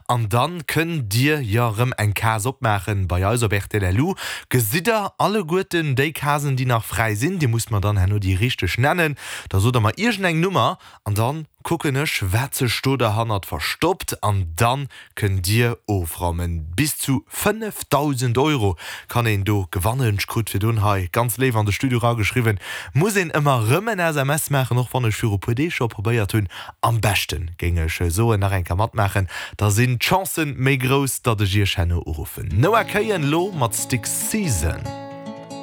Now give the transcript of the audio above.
An dann kënnt dir jo rëm eng Case opmaachen bei eis op rtl LU. Gesitt der alleguerten déi Casen déi nach fräi sinn. Dir musst mer dann herno déi richteg nennen. Da sot der mer iergend eng Nummer an dann kucken ech wat sech do derhannert verstoppt an dann kënnt dir ofraumen. Bis zu 5.000 Euro kann een do gewannen. Ech krut virdrun hei ganz léif an de Studio rageschriwwen, muss een ëmmer rëm en SMS maachen, och wann ech viru puer Deeg scho probéiert hunn. Am beschten géing ech soen nach eng Kéier matmaachen, da sinn d'Chancen méi grouss, datt ech iech herno uruffen. Noah Kahan lo mat Stick Season.